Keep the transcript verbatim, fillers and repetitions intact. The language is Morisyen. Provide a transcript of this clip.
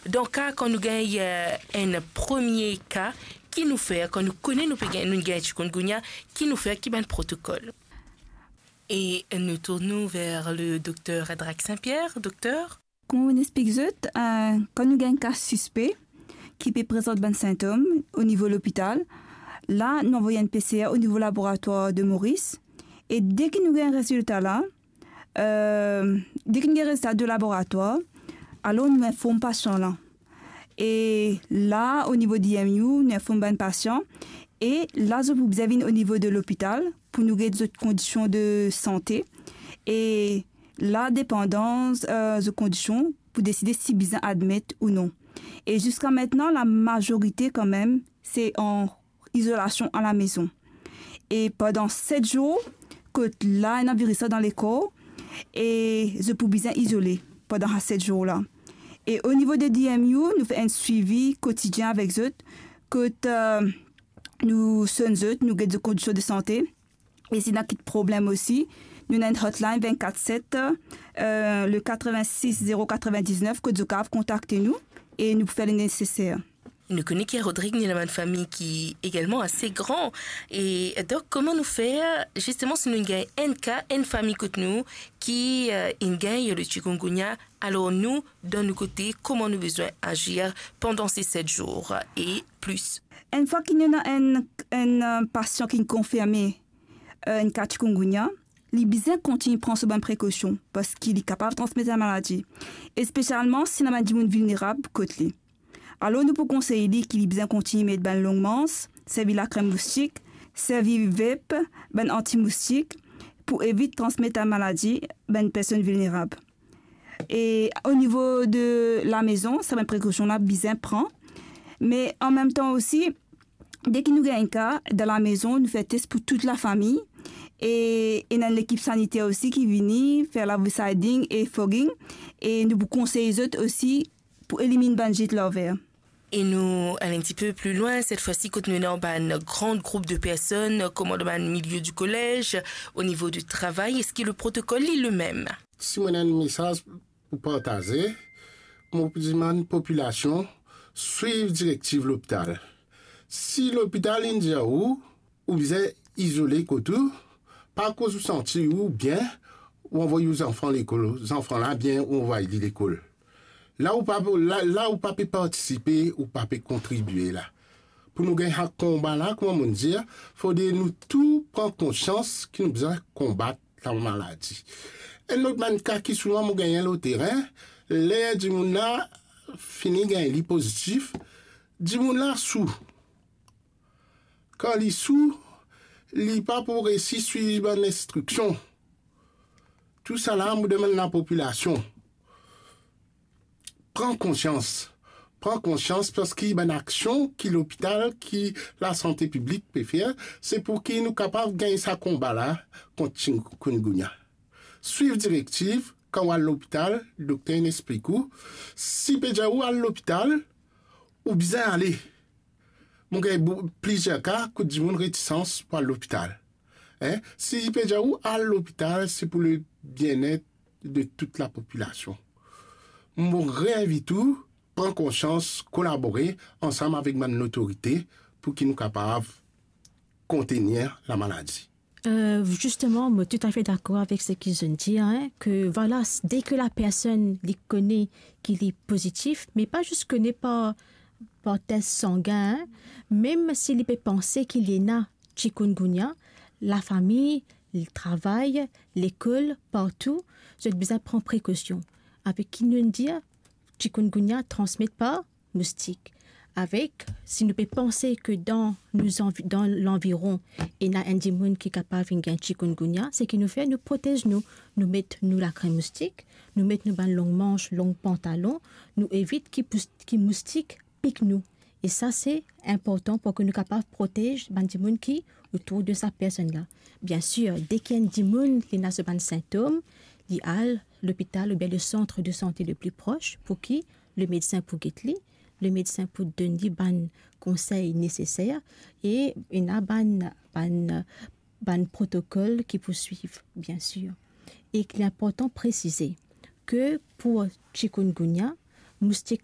Dan ka kan nou gagn, eh, enn premie ka, ki nou fer? Kan nou kone nou pe gagn, nou gagn chikungunya, ki nou fer, ki bann protokol? E nou tourn nou ver le dokter Drac Saint-Pierre. Dokter? Kouma mo'nn explik zot, eh, kan nou gagn ka sispe ki pe prezant bann sintom o nivo lopital, la nou anvoy enn P C R o nivo laboratwar de Moris. E deki nou gagn rezilta la, eh, deki nou gagn rezilta de laboratwar, alor nou inform pasian la. E la, o nivo D M U, nou inform bann pasian. E la, zot pou bizin vinn o nivo de lopital pou nou get zot kondision de sante. E la, depandan, eh, zot kondision, pou deside si bizin admet ou non. E ziska aster, lamazorite kanmem, se an izolasion alamezon. E pandan set zour, kot la ena viris la dan lekor, e zot pou bizin izole pandan sa set zour la. E o nivo de D M U, nou fer enn swivi kotidien avek zot, kot, eh, nou sonn zot, nou get zot kondision de sante. E si ena kit problem osi, nou ena enn hotline vennkat set, eh, le katrevin-sis zero katrevin-diznef, kot zot kapav kontakte nou e nou pou fer le neseser. Nou kone ki a Rodrig, nou ena bann fami ki egalman ase gran. E donk, kouma nou fer, zisteman, si nou gagn enn ka, enn fami kot nou ki, eh, inn gagn le chikungunya, alor nou, dan nou kote, kouma nou bizin azir pandan se set zour e plis? Enn fwa ki nou ena enn, enn, eh, pasian ki konfirme, eh, enn ka chikungunya, li bizin kontign pran so bann prekosion, parski li kapav transmet sa maladi, espesialman si ena bann dimoun vilnerab kot li. Alor, nou pou konsey li ki li bizin kontign met bann long mans, servi lakrem moustik, servi vape, bann antimoustik, pou evit transmet sa maladi bann personn vilnerab. E o nivo de lamezon, sa bann prekosion la bizin pran. Me anmemtan osi, deki nou gagn enn ka dan lamezon, nou fer tes pou tou lafami. E ena enn lekip saniter osi ki vini fer lavoisiding e fogging. E nou pou konsey zot osi pou eliminn bann zit larver. E nou al enn tipe pli lwin, set fwa si kot nou ena bann gran group de personn, kouma dan bann milie di kolez, o nivo di travay, eski le protokol li lemem? Si mo ena enn mesaz pou partaze, mo pou dimann popilasion swiv direktiv lopital. Si lopital inn dir ou, ou bizin izole kot ou, pa koz ou santi ou bien, ou anvoy ou zanfan lekol, zanfan la bien, ou anvoy li lekol. La ou pa, la, la ou pa pe partisipe, ou pa pe kontribie la. Pou nou gagn sa konba la, kouma mo'nn dir, fode nou tou pran konsians ki nou bizin konbat lamaladi. Enn lot bann ka ki souvan mo gagn lor terin, ler dimoun la fini gagn li pozitif, dimoun la sou. Kan li sou, li pa pou resi swiv bann instriksion. Tousala, mo demann lapopilasion, pran konsians. Pran konsians, parski bann aksion ki lopital, ki lasante piblik pe fer, se pou ki nou kapav gagn sa konba la kont chikungunya. Swiv direktiv, kan ou al lopital, dokter inn explik ou. Si pe dir ou al lopital, ou bizin ale. Mo gagn bou-, plizier ka kot dimoun retisans pou al lopital. Hein? Si pe dir ou al lopital, se pou le bien-être de tout lapopilasion. Mo reinvit ou, pran konsians, kolabore ansam avek bann lotorite pou ki nou kapav kontenir lamaladi. Euh, justement, mo toutafe dakor avek seki zot inn dir, hein, ke vwala, s-, deki lapersonn li kone ki li pozitif, me pa zis kone par, par tes sangin, hein, mem si li pe panse ki li ena chikungunya, lafami, travay, lekol, partou, zot bizin pran prekosion. Avek ki nou dir, chikungunya transmet par moustik. Avek, si nou pe panse ke dan nou anvi-, dan lanviron, ena enn dimoun ki kapav vinn gagn chikungunya, seki nou fer, nou protez nou. Nou met nou lakrem moustik, nou met nou bann long manz, long pantalon, nou evit ki pous-, ki moustik pik nou. E sa, se inportan pou ki nou kapav protez bann dimoun ki otour de sa personn la. Biensir, deki enn dimoun li ena so bann sintom, li al lopital oubien le sant de sante le pli pros pou ki le medsin pou get li, le medsin pou donn li bann konsey neseser e ena bann, bann, bann protokol ki pou swiv, biensir. E li inportan presize ke pou chikungunya, moustik la,